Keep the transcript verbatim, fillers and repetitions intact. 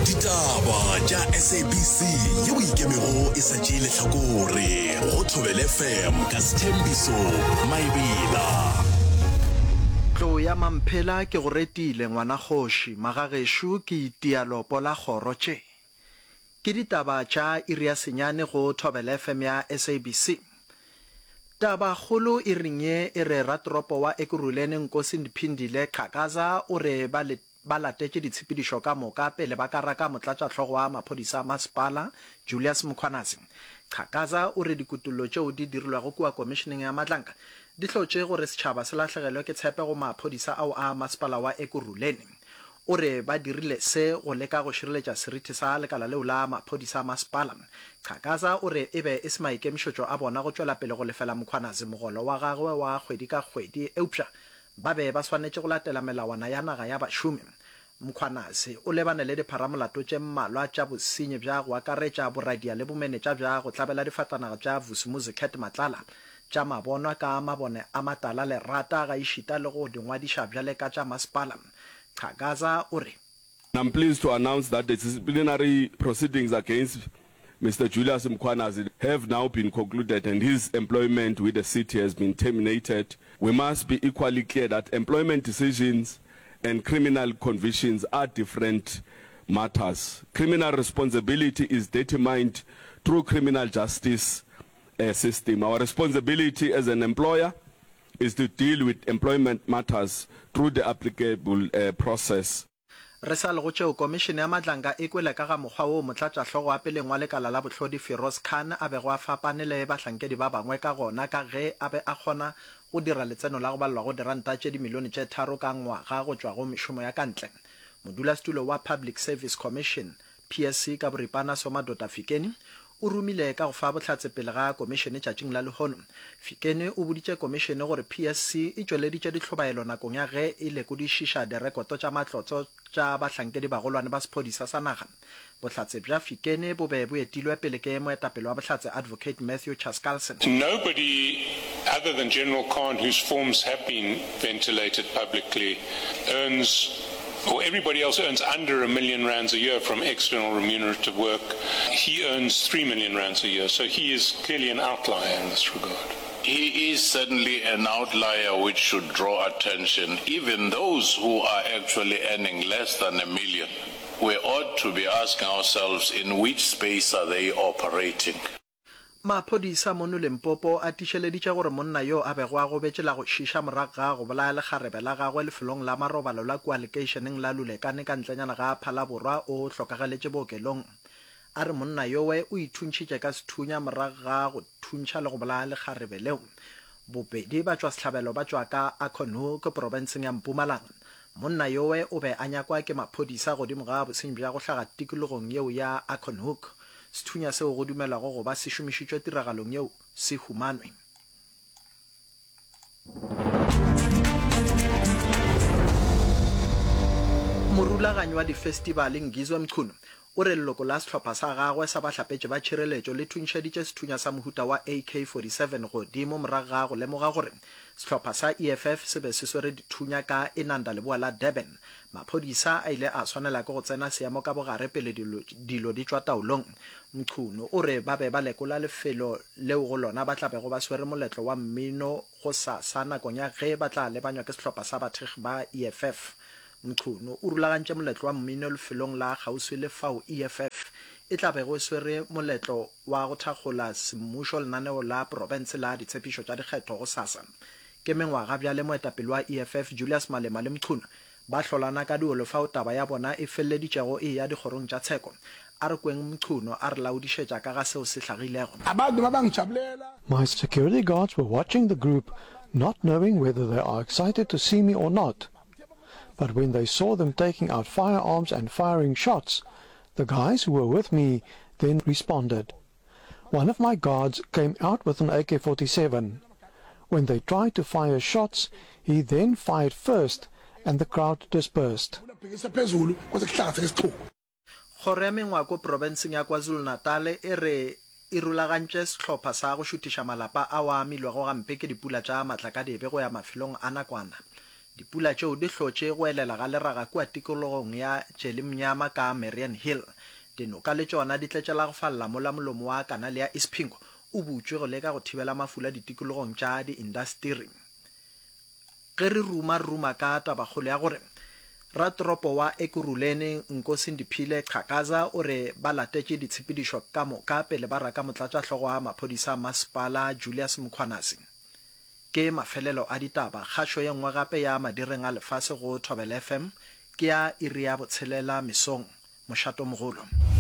Ditaba tša S A B C yeo e ikemego e sa tšee lehlakore go Thobela F M ka Sethembiso Maebela. Tlou ya Mamphela ke go retile ngwana kgoši, magagešo ke itia lopo la kgoro tše. Ke ditaba tša iri ya senyane go Thobela F M ya S A B C. Taba kgolo iring ye e re ratoropo wa Ekurhuleni Nkosi Phindile Xhakaza o re ba le ba latetše ditshepedišo ka moka pele ba ka raka motlatšahlogo wa maphodisa a masepala Julius Mkhwanazi. Xhakaza o re dikutullo tšeo di dirilwego kua komišeneng ya Madlanga di hlotše gore setšhaba se lahlegelwe ke tshepe go maphodisa ao a masepala wa Ekurhuleni. O re ba dirile se go leka go šireletša seriti sa lekala leo la maphodisa a masepala. Xhakaza o re e be e se maikemišetšo a bona go tšwela pele go lefela Mkhwanazi mogolo wa gagwe wa kgwedi ka kgwedi, eupša ba be ba swanetše go latela melawana ya naga ya bašomi. Mkhwanazi o lebane le dipharamolato tše mmalwa tša bosenyi bja go akaretša boradia le bomenetša bja go tlabela difatanaga tša Vusimuzi Cat Matlala tša mabonwa ka mabone a matala lerata gaešita le go di ngwadiša bjale ka tša masepala. Xhakaza o re I'm pleased to announce that the disciplinary proceedings against Mister Julius Mkhwanazi have now been concluded and his employment with the city has been terminated. We must be equally clear that employment decisions and criminal convictions are different matters. Criminal responsibility is determined through criminal justice uh, system. Our responsibility as an employer is to deal with employment matters through the applicable uh, process. Re sa le go tšeo, Komišene ya Madlanga e kwele ka ga mokgwa woo motlatšahlogo wa peleng wa lekala la bohlodi Firoz Khan a bego a fapane le bahlankedi ba bangwe ka gona ka ge a be a kgona go dira letseno la go balelwa go diranta tše dimilione tše tharo ka ngwaga go tšwa go mešomo ya ka ntle. Modulasetulo wa Public Service Commission, P S C ka boripana, Somadoda Fikeni o romile ka go fa bohlatse pele ga komišene tšatšing la lehono. Fikeni o boditše komišene gore P S C e tšweleditše dihlobaelo nakong ya ge e lekodišiša direkoto tša matlotlo tša bahlankedi bagolwane ba sephodisa sa naga. Bohlatse bja Fikeni bo be bo etilwe pele ke moetapele wa bohlatse Advocate Matthew Chaskalson. Nobody other than General Khan, whose forms have been ventilated publicly, earns, or everybody else earns under a million rands a year from external remunerative work. He earns three million rands a year, so he is clearly an outlier in this regard. He is certainly an outlier which should draw attention. Even those who are actually earning less than a million, we ought to be asking ourselves in which space are they operating. Maphodisa mono Limpopo a tiišeleditše gore monna yo a bego a gobetše la go šiša morago ga go bolaya lekgarebe la gagwe lefelong la marobalo la kua lekeišeneng la Lulekane ka ntlenyana ga Phalaborwa o hlokagaletše bookelong. A re monna yowe o ithuntšhitše ka sethunya morago ga go thuntšha le go bolaya lekgarebe leo. Bobedi batšwasehlabelo ba tšwa ka Acornhoek profenseng ya Mpumalanga. Monna yowe o be a nyakwa ke maphodisa godimo ga bosenyi bja go hlaga tikologong yeo ya Acornhoek. Sethunya seo go dumelwago go ba se šomišitšwe tiragalong yeo se humanwe. Morulaganyi wa difestibale Ngizwe Mchunu o re leloko la sehlopha sa gagwe sa bahlapetši ba tšhireletšo le thuntšheditše sethunya sa mohuta wa A K forty seven godimo morago ga go lemoga gore sehlopha sa E F F se be se swere dithunya ka Inanda leboa la Durban. Maphodisa a ile a swanela ke go tsena seemo ka bogare pele dilo, dilo di tšwa taolong. Mchunu o re ba be ba lekola lefelo leo go lona ba tla bego ba swere moletlo wa mmino go sa sa nakong ya ge ba tla lebanywa ke sehlopha sa bathekgi ba E F F. Mchunu o rulagantše moletlo wa mmino lefelong la kgauswi le fao E F F e tla bego e swere moletlo wa go thakgola semmušo lenaneo la profense la ditshepišo tša dikgetho go sasa. Ke mengwaga bjale moetapele wa E F F Julius Malema le Mchunu ba hlolana ka diolo fao taba ya bona e feleleditšego e ya dikgorong tša tsheko. A re kweng Mchunu a re laodišetša ka ga seo se hlagilego. Abantu babangijabulela. My security guards were watching the group, not knowing whether they are excited to see me or not. But when they saw them taking out firearms and firing shots, the guys who were with me then responded. One of my guards came out with an A K forty-seven. When they tried to fire shots, he then fired first and the crowd dispersed. Bhekisa phezulu kwase kuhlanganiseka isixuku. Kgoro ya Mengwako profenseng ya KwaZulu-Natal e re e rulagantše sehlopha sa go šuthiša malapa ao a amilwego gampe ke dipula tša matlakadibe go ya mafelong a nakwana. Dipula tšeo di hlotše go elela ga leraga kua tikologong ya Tšelimnyama ka Mariannhill. Dinoka le tšona di tletše la go falla mola molomo wa kanale ya Isipingo o butšwe go leka go thibela mafula ditikologong tša diindasteri. Ge re ruma re ruma ka tabakgolo ya gore ratoropo wa Ekurhuleni Nkosindiphile Xhakaza o re ba latetše ditshepedišo ka moka pele ba raka motlatšahlogo wa maphodisa a masepala Julius Mkhwanazi. Ke mafelelo a ditaba. Kgašo ye nngwe gape ya madireng a lefase go Thobela FM ke ya iri ya botshelela mesong. Mošatomogolo.